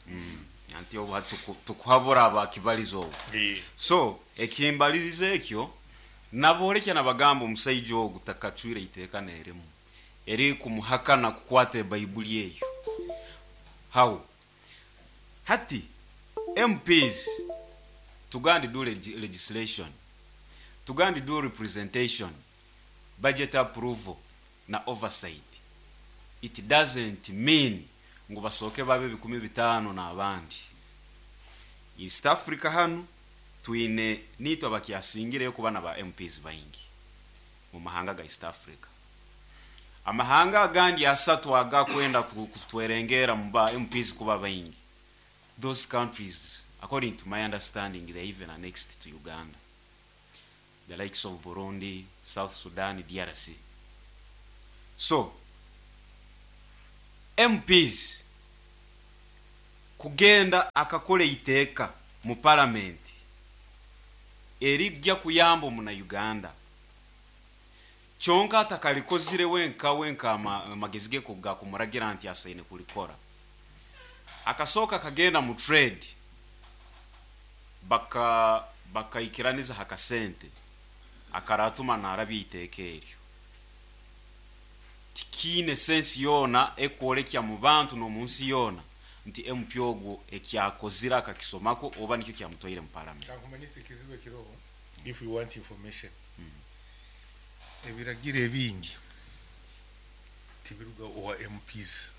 Anti obu hati tuku- tukuhabura abakibaliza obu. Eh, so ekimbaliriza ekyo nabolekya nabagamba omusaija ogu takacwire iteeka nerimu eri kumuhakana kukwata ebaibuli eyo. How hati M Ps tugandi do leg legislation, tugandi do representation, budget approval na oversight. It doesn't mean ngu basooke babe bikumi bitaano n'abandi. East Africa hano twine nitwe abakyasingireyo kuba na ba M Ps baingi mu mahanga ga East Africa. Amahanga agandi asatu agakwenda ku- kutwerengera mu ba M Ps kuba baingi, those countries, according to my understanding, they even annexed to Uganda, the likes of Burundi, South Sudan, D R C. So M Ps kugenda akakora iteeka mu parliament erijja kuyamba omuna Uganda kyonka atakalikozire wenka wenka amagezi ge gakumuragira nti asaine kulikora. Akasooka kagenda mu trade baka bakaikiraniza hakasente akaratuma narabya iteeka eryo tikiine sensi yoona ekworekya mu bantu n'omunsi yoona nti M P ogwo ekyakozire akakisomako oba nikyo kyamutwaire mu parliament. Kankumanyise ekizibu ekiriho if you want information. Mm. Ebiragiro ebingi tibiruga owa M Ps.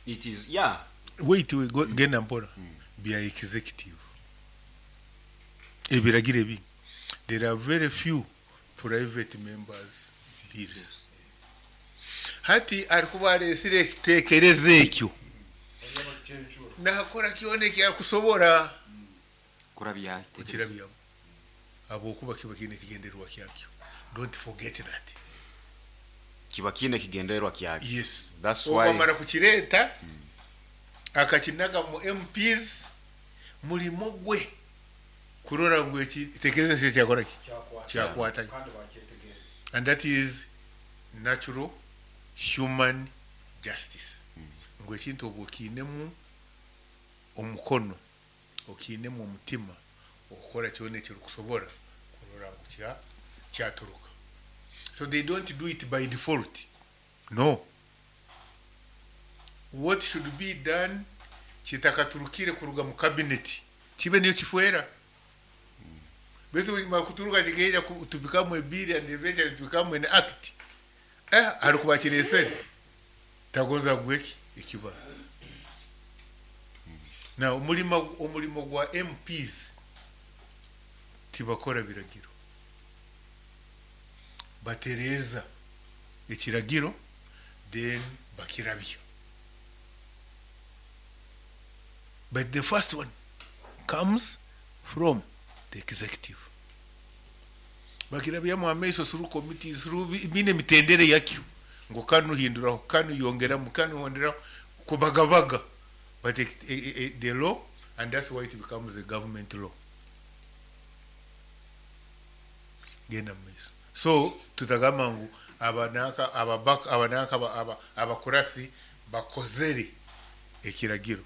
It is, yeah. Wait, we go genda mpora. Mm. Bya executive. Ebiragiro ebingi. There are very few private members bills. Yes. Hati alikuwa aresire ekitekerezo ekyo nakora kyone kyakusobora kurabya kukirabya abokuba kiba kine kigendererwa kyakyo. Don't forget that kiba kine kigendererwa kyakyo. Yes, that's why obamara kukireta mm. akakinaga mu M Ps mulimo gwe kurora ngu ekitekerezo kye kyakora ki kyakwata, and that is natural human justice. Ngo ekintu obwo okiinemu omukono okiinemu omutima okukora kyona ekirikusobora kurora ngu kya kyaturuka. So they don't do it by default. No, what should be done kitakaturukire kuruga mu cabinet kibe niyo kifwera betu makuturuka kikeja to become a bill and eventually to become an act. Eh, alikubakiresere tagonza gweki ekiba. Na omulimo omulimo gwa M Ps tibakora biragiro, batereza ekiragiro then bakirabya. But the first one comes from the executive. Bakirabya mu amaiso through committees, through bine mitendere yakyo ngo kanu hinduraho kanu yongera mu kanu hondera kubagabaga, but it, it, it, the law, and that's why it becomes a government law. Genda maiso. So tutagamba ngu abanaka ababaka abanaka aba abakurasi bakozere ekiragiro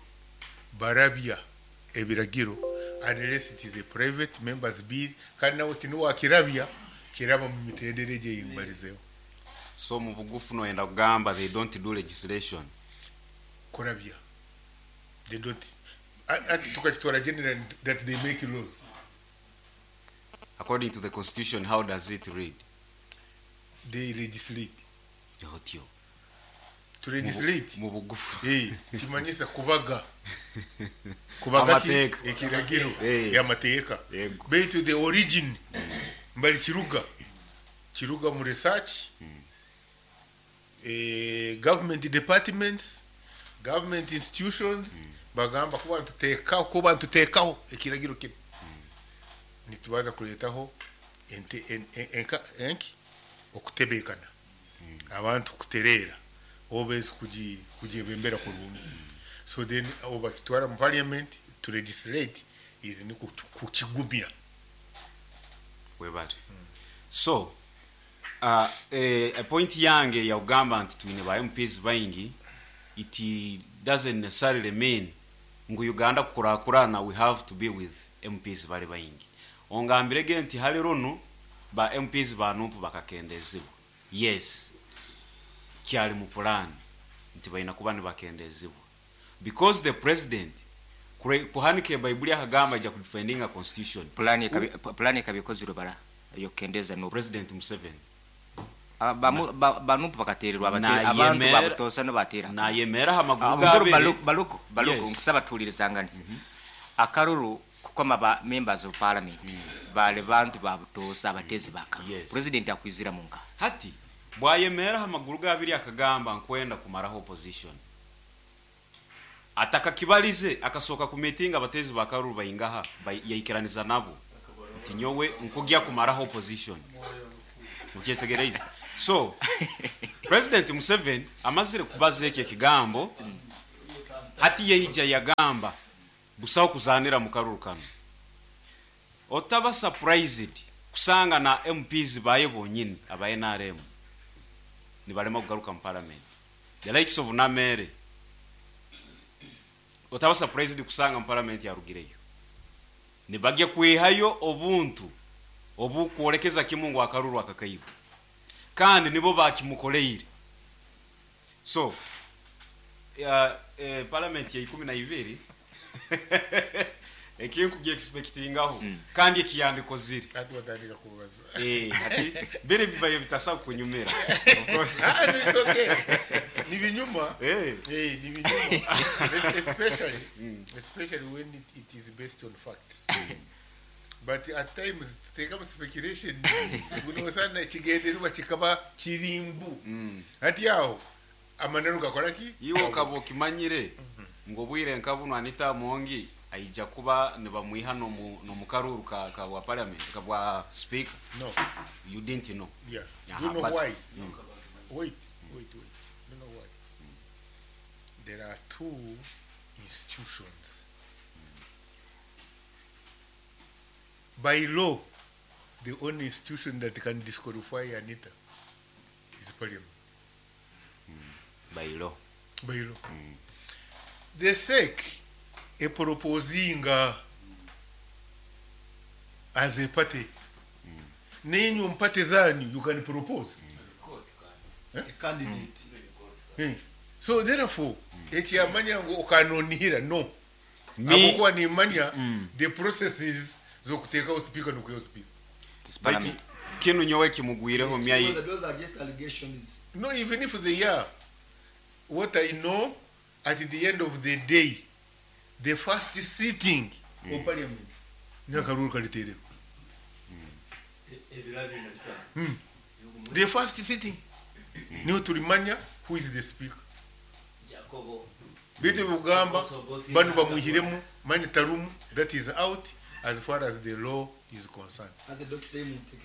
barabya ebiragiro unless it is a private members bill kandi nawe tinuwa kirabya kiraba mu mitendere gye yimbarizeho. So mu bugufu noyenda kugamba they don't do legislation kurabya. They don't ati tukakitwara general that they make laws according to the constitution. How does it read? They legislate. Yotyo to legislate mu bugufu eh kimanyisa kubaga kubaga ekiragiro y'amateeka baitu the origin mbali kiruga kiruga mu research mm. eh government departments, government institutions mm. bagamba kuba tuteka kuba tutekaho ekiragiro kino mm. nitubaza kuletaho ente enka enki okutebekana mm. abantu kuterera obezi kuji kujebembera kurungi. So then obakitwara mu parliament to legislate is ni kukigumya webale. Mm. So uh, eh, point yange ya ugamba nti twine ba M Ps baingi, it doesn't necessarily mean ngu Uganda kukurakurana we have to be with M Ps bali baingi. Ongambirege nti hali runo ba M Ps banumpu bakakendezibwa. Yes, kyali mu plan nti balina kuba nibakendezibwa because the president kuhanike Bible akagamba ja kudefending a constitution plan plan kabikoziro bara yokendeza no President Museveni banupu bakatererwa abatera abantu babutosa no batera nayemera hamaguru gabe baluko baluko nkusaba tulirizangane akaruru kukoma ba members of parliament bale bantu babutosa abatezi baka president akwizira munka hati bwayemera hamaguru gabiri akagamba nkwenda kumaraho opposition ataka kibalize akasoka ku meeting abatezi bakaruru bayingaha yaikeraniza nabo nti nyowe nkugya kumaraho opposition ukyetegereza. So President Museveni amazire kubaza ekyo ekigambo, hati yeija yagamba busaho kuzanira mu karuru kano. Otaba surprised kusanga na M Ps baye bonyini aba N R M nibalema kugaruka mu parliament, the likes of Namere. Otaba surprised kusanga mu parliament yarugireyo nibagye kwihayo obuntu obukwolekeza kimungu akaruru akakaibu, kandi nibo bakimukoleire. So uh, eh, parliament ya ikumi na ibiri ekintu expectingaho mm. kandi ekiyandiko ziri ati batandika kubaza eh ati bere bibaye bitasa kunyumira. Of course ah no, it's okay, ni binyuma eh eh ni binyuma especially mm. especially when it, it is based on facts. But at times tuteka speculation gunosana ekigendererwa kikaba kirimbu mm. ati aho amaneno gakora ki iwo kabo kimanyire ngo bwire nkabuno Anita Mongi aija kuba nibamwiha no mu no mukaruru ka ka wa parliament ka bwa speaker. No, you didn't know. Yeah. Aha, you know but, why? Mm. Wait, wait, wait. You know why? Mm. There are two institutions. Mm. By law, the only institution that can disqualify Anita is parliament. Mm. By law. By law. Mm. The S E C a proposing as a party. Mm. Nenyu mpate zanyu, you can propose. Mm. Eh? A candidate. Mm. Mm. So therefore, mm. ekyamanya ngo okanonihira no. Me akokuwa nimanya mm. the processes zokuteka speaker no speaker. But kinu nyowe kimugwireho myai. Those are just allegations. No, even if they are, what I know at the end of the day, the first sitting mm. of parliament nyakaruru kaliterero. Mm. The first sitting mm. niyo tulimanya who is the speaker. Bitu bugamba banu bamuhiremu mani tarumu, that is out as far as the law is concerned.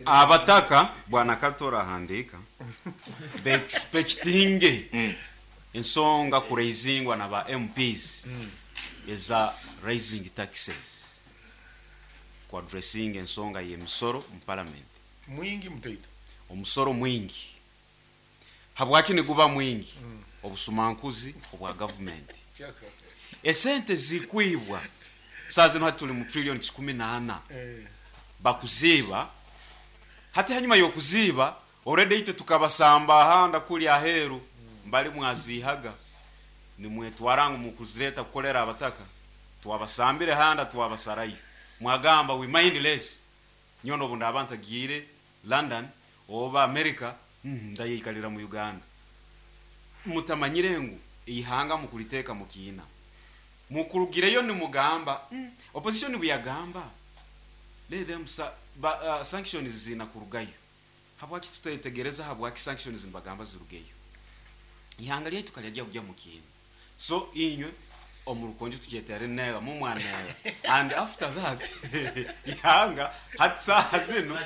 Abataka bwana Katora handika be expecting mm. ensonga kuraisingwa na ba M Ps mm. eza raising taxes ku addressing ensonga y'emisoro mu parliament. Mwingi mutaito omusoro mwingi habwaki niguba mwingi mm. obusumankuzi obwa government esente zikwibwa saa zino hati tuli mu trillion kikumi na ana eh. bakuziba hati hanyuma y'okuziba already itwe tukabasamba ahanda kuli aheru mm. mbali mwazihaga nimwetwara ngu mukuzireta kukolera abataka twabasambire handa twabasarayo mwagamba we mindless nyono bunda abantu agire London oba America mm, ndayikalira mu Uganda mutamanyire ngu ihanga mukuliteka mukina mukurugireyo ni mugamba mm, opposition buyagamba let them sa, ba, uh, sanctions zina kurugayo habwaki tutaitegereza habwaki sanctions mbagamba zirugeyo ihanga lyetu kalyagia kujya mukina so inywe omurukonjo tukyetera nega mumwana and after that ihanga hatsa zino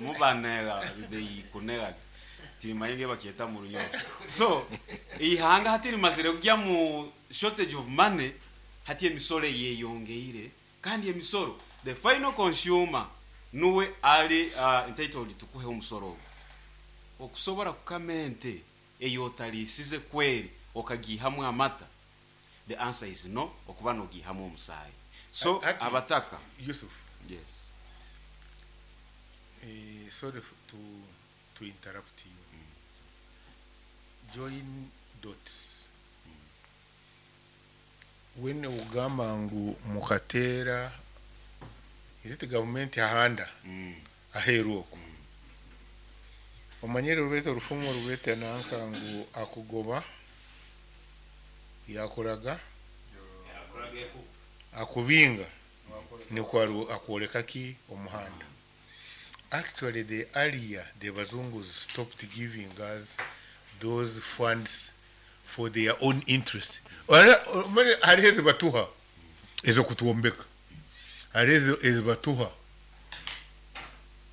mubanega they kunega timayinge bakyeta mu runyo so ihanga hatiri mazire kujya mu shortage of money hati emisoro yeyongeire kandi emisoro the final consumer nuwe ali uh, entitled tukuhe omusoro okusobora kukamente eyotalisize kweri okagihamu amata. The answer is no, okuba nogihamu omusayi. So Ati, abataka Yusuf. Yes. Eh, sorry to to interrupt you. Mm. Join dots. Mm. When ugamba ngu mukatera is it government ahanda mm. aheru oko mm. omanyere rubete orufumo rubete nanka ngu akugoba yakoraga akubinga niko akwoleka ki omuhanda. Actually the earlier the bazungus stopped giving us those funds for their own interest. Hariho ezibatuha ez'okutuwombeka, hariho ezibatuha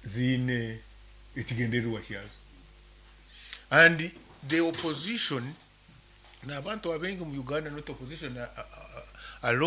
ziine ekigendererwa kyazo. And the opposition, n'abantu abengi mu Uganda, not opposition uh, uh, alone.